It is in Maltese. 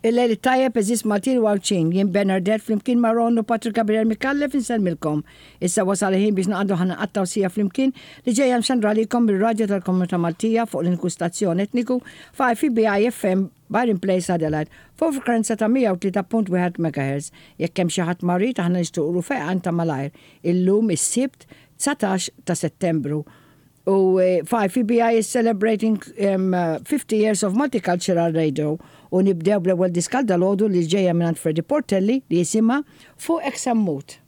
Il-lejl it-tajjeb għeżież Maltin u Għawdxin, jien Bernardette flimkien ma' Ron u Patrick Gabriel Micallef insellmilkom. Issa wasal il-ħin biex naqgħdu ħa nqattgħu siegħa flimkien li ġejja mxandra għalikom mir-radju tal-Komunità Maltija fuq l-uniku stazzjon etniku f'IFBI FM Byron Place Adelaide fuq frekwenza ta' 103.1 MHz. Jekk hemm xi ħadd marid aħna nixtiequlu fejqan ta' malajr. Illum is-Sibt 19 ta' Settembru U 5EBI is celebrating 50 years of Multicultural Radio u nibdew bl-ewwel diska għal dalgħodu li ġejja mingħand Freddie Portelli li jisimha Fuqek se mmut.